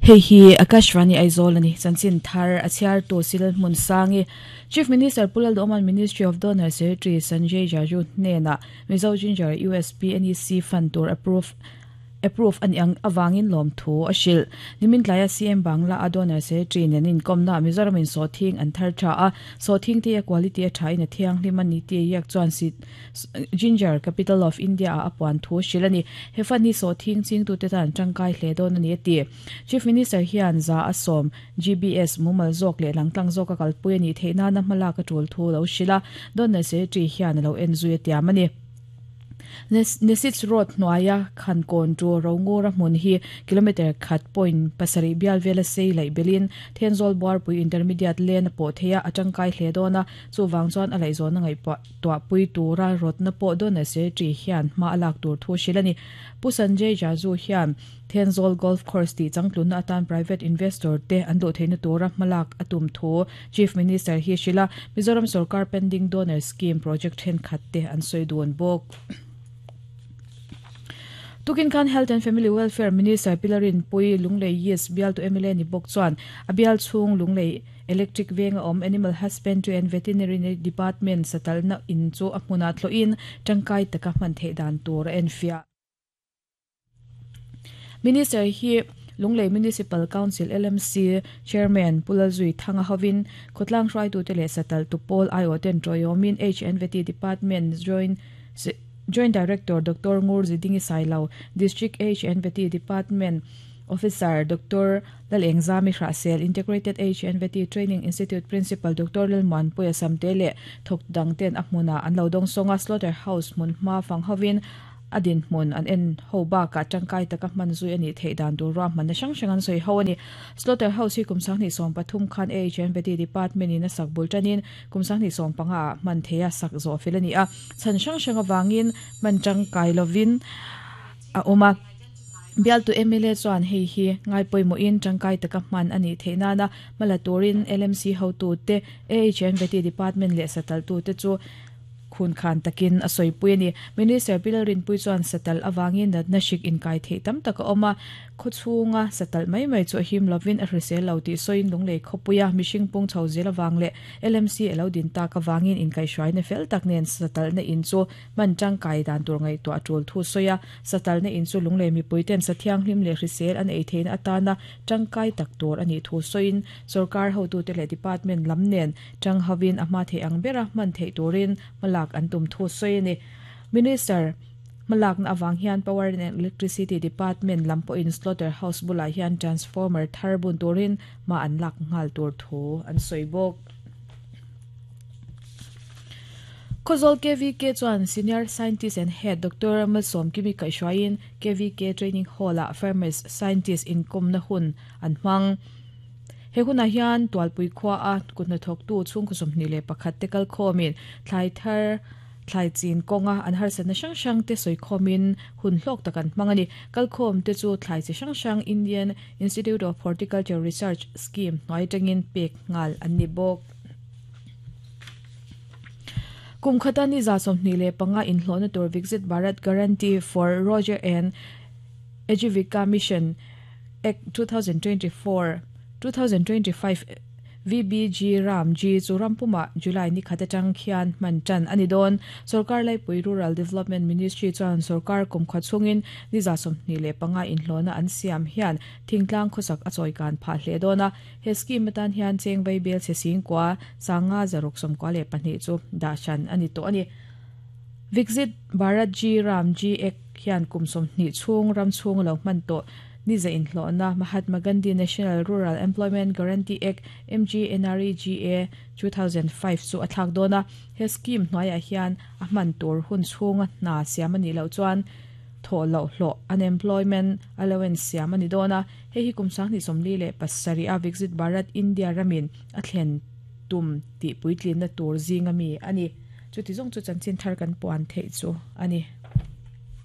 Hei hi Akashvani Aizawl a ni. Chanchin thar a chhiartu Sil Hmunsangi, Chief Minister Pu Lalduhawma'n Ministry of Donor Secretary Sanjay Jaju hnenah Mizo Ginger USP NEC fund tur approve approve a nih ang avangin lawmthu a hrilh. Nimin tlaia CM Bangla a donor secretary nen inkawmnaah Mizoram in sawhthing an thar tha a, sawhthing te a quality a thain a thianghlim a ni tih a iak chuan Ginger Capital of India ah a puan thu a hrilh a ni. He fund hi sawhthing chingtute tan tangkai hle dawn a ni a ti. Chief Minister hian 110 GBS mumal zawk leh langtlang zawka kalpui a nih theih nana hmalak a tul thu lo hrilh a, donor secretary hian a lo en zui a tiam a ni. Nesits Road hnuaia khan kawn tu Rongura hmun hi kilometre khat point pasarih bial vela sei laih belin Thenzawl Buarpui Intermediate lane a pawh thei a, a tangkai hle dawn a, chuvang chuan a laihzawn a ngaihpuah tuahpui tura rawtna pawh Donor Secretary hian hma a lak tur thu hrilh a ni. Pu Sanjay Jaju hian Thenzawl Golf Course tih changtlunna atan private investor te an duh theihna tura hmalak a tum thu Chief Minister hi hrilh a, Mizoram sorkar pending donor scheme project thenkhat te an sawi dun bawk. Tukin khan Health and Family Welfare Minister Pilarin Pui Lunglei East bialtu mla ni bawk chuan a bial chhung Lunglei Electric venga awm Animal Husbandry and Veterinary Department satalna in chu a hmunah thlawhin tangkai taka hman theih dan tur a enfiah. Minister hi Lunglei Municipal Council, LMC, Chairman Pu Lalzui Thanga hovin khawtlang hruaitute leh satal tupawl aiawhten tawiawmin HNVT Department Joint Joint Director Doctor Ngur Zidingi Sailo, District HNVT Department Officer Doctor Lalengzami Hrahsel, Integrated HNVT Training Institute Principal Doctor Lalmuanpuia Samte leh thawk dangten a hmunah an lo dawngsawng a, Slaughter House hmunhma fang hovin A dinhmun an en ho bakah tangkai taka hman zui a nih theih dan tur ruahmanna hrang hrang an sawi ho a ni. Slaughter House hi kum 2013 khan AHNVD Department in a sak bul tanin kum 2015 ah hman theih a sak zawh fel a ni a, chhan hrang hrang avangin hman tangkai lovin a awm a. Bialtu mla chuan hei hi ngaipawimawhin tangkai taka hman a nih theih nana hma la turin LMC hotute, AHNVD Department leh sataltute chu Khun khan takin a sawipui a ni. Minister Pi Lalrinpuii chuan satalh avangin natna hrik inkai theih tam tak a awm a, khaw chhunga satalh mai mai chu a him lovin a hrisel lo tih sawiin Lunglei khawpuia mihring pung chho zel avang leh LMC a lo din tak avangin inkaihhruaina fel tak nen satalhna in chu hman tangkai dan tur ngaihtuah a tul thu sawi a. Satalhna in chu Lunglei mipuiten sa thianghlim leh hrisel an ei theihna atana tangkai tak tur a nih thu sawiin sawrkar hotute leh department lam nen Chang hovin a hma theih ang bera hman theih turin hmalak an tum thu sawi a ni. Minister hmalakna avang hian Power and Electricity Department lam pawhin Slaughter House bulah hian transformer thar bun turin hma an lak nghal tur thu an sawi bawk. Khawzawl KVK chuan Senior Scientist and Head Doctor Malsawmkimi kaihhruaiin KVK Training Hall-ah Farmers Scientist inkawmna hun an hmang. He hunah hian Tualpui khua a kut hnathawktu chhungkaw 21 te kal khawmin thlai thar, thlai chin kawnga an harsatna hrang hrang te sawi khawmin hun hlawk tak an hmang a ni. Kal khawm te chu thlai chi hrang hrang Indian Institute of Horticulture Research Scheme hnuai atangin pek nghal an ni bawk. Kum khata ni 25 inhlawhna tur Viksit Bharat Guarantee for Roger and Ajivika Mission Act 2024, 2025 VBG Ram G chu ram pumah July ni khat atang khian hman tan a ni dawn. Sorkar Laipui Rural Development Ministry chuan sorkar kumkhaw chhungin ni 25 inhlawhna an siam hian thingtlang khawsak a chawikan phah hle dawn a. He scheme atan hian cheng vaibel chhe singkua sanga zaruk 92 chu dah hran a ni tawh a ni. Viksit Bharat G Ram G Act hian kum 20 chhung ram chhung a lo hman tawh ni za inhlawhna Mahatma Gandhi National Rural Employment Guarantee Act, MGNREGA, 2005 chu a thlak dawn a. He scheme hnuaiah hian a hman tur hun chhunga hna siam a nih loh chuan thawh loh hlawh, unemployment allowance, siam a ni dawn a. Hei hi kum 2047 a Viksit Bharat India ramin a thlen tum tih puitlinna tur zinga mi a ni. Chuti zawng chu chanchin thar kan puan theih chu a ni.